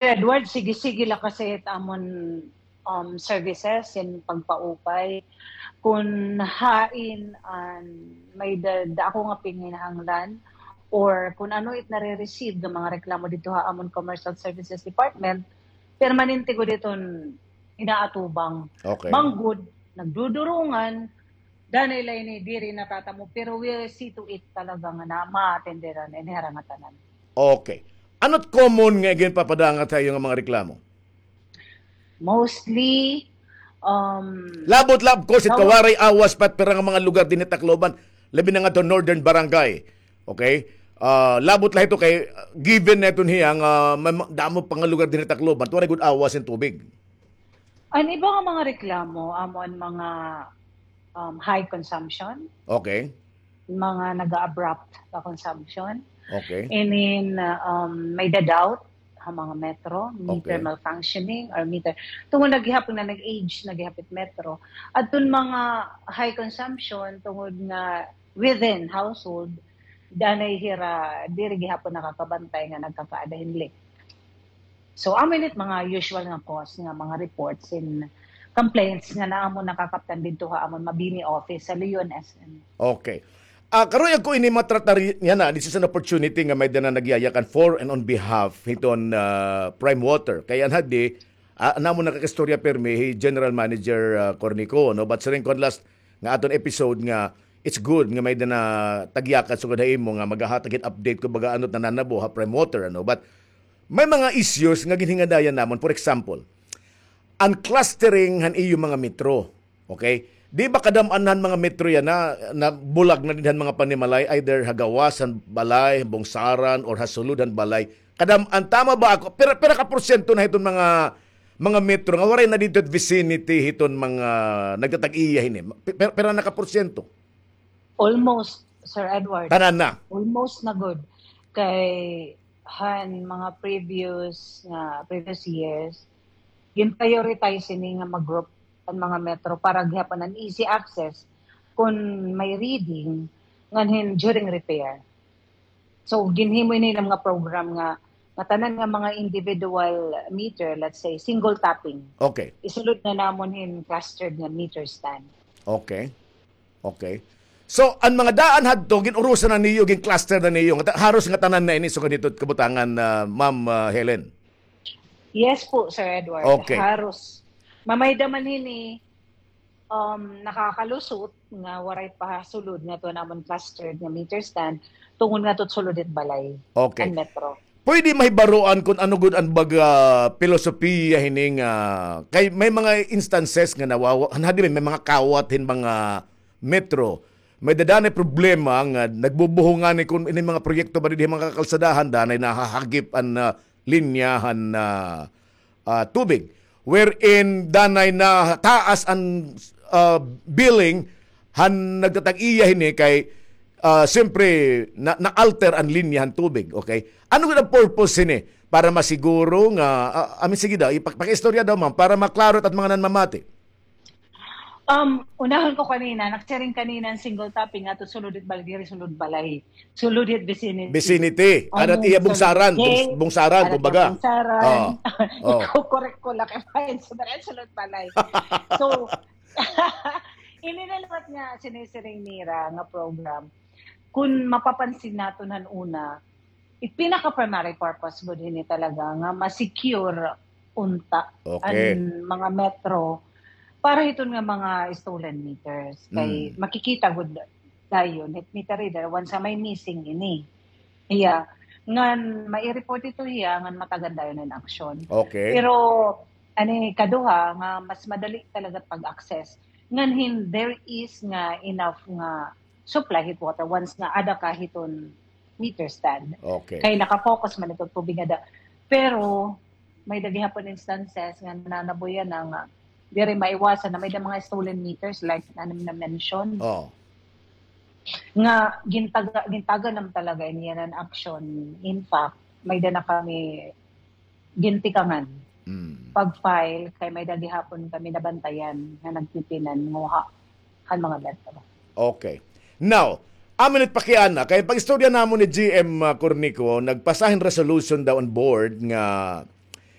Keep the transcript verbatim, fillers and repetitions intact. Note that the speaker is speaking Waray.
Edward, sige-sige la kasi it amon, um, services in pagpaupay. Kun hain an may da, da ako nga pinginahanglan or kun ano it nare-receive nga mga reklamo didto ha amon Commercial Services Department, permanente gud iton inaatubang. Okay. Manggod, nagdudurungan, danay la ini diri natatamo, pero we see to it talaga nga na maatenderan ini hira nga tanan. Okay. Ano it common nga ginpapadangat ha iyo nga mga reklamo? Mostly, um, labot la, of course, it kawaray awas pa it pira nga mga lugar dinhi ha Tacloban, labi na ngadto Northern Barangay. Okay? Ah, labot la ito kay, ah, given na ito niya nga may ma-, damo pa nga lugar dinhi ha Tacloban, waray gud awas hin tubig. An iba nga mga reklamo, amo an mga, um, high consumption. Okay. Mga naga-abrupt nga consumption. Okay. And then, uh, um, may da-doubt ha mga metro, meter malfunctioning or meter. Tungod na gihapon nga nag-age na gihapon it metro. Adton mga high consumption, tungod nga within household, danay hira, diri gihapon nakakabantay nga nagkakaada hin leak. So, amo ini it mga usual nga cause nga mga reports hin complaints nga amon nakakaptan didto ha amon Mabini office sa Leon S M. Okay. Ah, karuyag ko ini matratar yana, this is an opportunity nga may-ada na nagyayakan for and on behalf hiton, ah, Prime Water. Kay an hadi, ah, an amon nakakaistorya pirmi hi General Manager, ah, Cornico, no? But siring ko an last nga aton episode nga it's good nga may-ada na tagyakan sugad ha imo nga magahatag hin update kumbaga ano it nananabo ha Prime Water, ano? But may mga issues nga ginhingadayan namon. For example, an clustering han iyo mga metro. Okay? Di ba kadam-an han mga metro yana, nabulag na dinhi han mga panimalay, either ha gawas han balay, bungsaran, or ha sulod han balay? Kadam-an, tama ba ako? Pira, pira ka porsyento na hiton mga, mga metro nga waray na didto ha vicinity hiton mga nagtatag-iya hini? Pi-, pira, pira na ka porsyento? Almost, Sir Edward. Tanan na. Almost na gud. Kay han mga previous nga, previous years, gin-prioritize ini nga mag-group an mga metro para gihapon an easy access kun may reading ngan hin during repair. So, ginhimo ini nga program nga, nga tanan nga mga individual meter, let's say, single tapping. Okay. Isulod na namon hin clustered nga meter stand. Okay. Okay. So, an mga daan hadto, gin-urusan na niyo, gin-cluster na niyo. Nga ta-, haros nga tanan na ini, sugad hito kabutangan, ah, Ma'am, ah, Helen? Yes po, Sir Edward. Okay. Haros. Mamayda man hini, um, nakakalusot nga waray pa sulod ngadto ha amon clustered nga meter stand, tungod ngadto sulod hit balay, okay, an metro. Pwede mahibaroan kun ano gud an baga pilosopiya hini nga, kay may mga instances nga nawawa-, hadi may mga kawat hin mga metro. May-ada danay problema nga nagbubuhong ngani kun ini mga proyekto ba didi mga kakalsadahan, danay nahahagip an, ah, linya han, ah, ah, tubig. Wherein danay nataas an, ah, billing han nagtatag-iya hini kay, ah, siyempre, na, na-alter an linya han tubig, okay? Ano gud an purpose hini? Para masiguro nga, ah, I mean, sige daw, ipak-, pakiistorya daw, ma'am, para maklaro it mga nanmamati. Um, unahon ko kanina, nagsiring kanina an single tapping ngadto sulod hit balay, diri sulod balay. Sulod hit vicinity. Vicinity. Ano it iya bungsaran, bungsaran, kumbaga. Bungsaran. Oo. Iko-correct ko la kay sulod balay. So, ini na liwat nga sinisiring nira nga program. Kun mapapansin naton han una, it pinaka-primary purpose gud hini talaga nga ma-secure unta an mga metro para hiton nga mga stolen meters. Kay makikita gud dayon hit meter reader once nga may missing ini. Iya. Ngan mai-report ito hiya, ngan matagan dayon an aksyon. Okay. Pero, ani, kaduha, nga mas madali talaga pag-access. Ngan hin, there is nga enough nga supply hit water once nga ada ka hiton meter stand. Okay. Kay naka-focus man ito tubig nga da. Pero, may-ada gihapon instances nga nananabuyan na nga diri maiwasan na may-ada mga stolen meters like na na-mention. Oh. Nga gintaga-, gintagan nam talaga ini yana nga aksyon. In fact, may-ada na kami gintikangan. Mm. Pag-file, kay may-ada gihapon kami nabantayan nga nagpipinanguha han mga metro. Okay. Now, amo ini it pakiana, kay pag-istorya namon ni G M, ah, Cornico, nagpasa hin resolution daw an board nga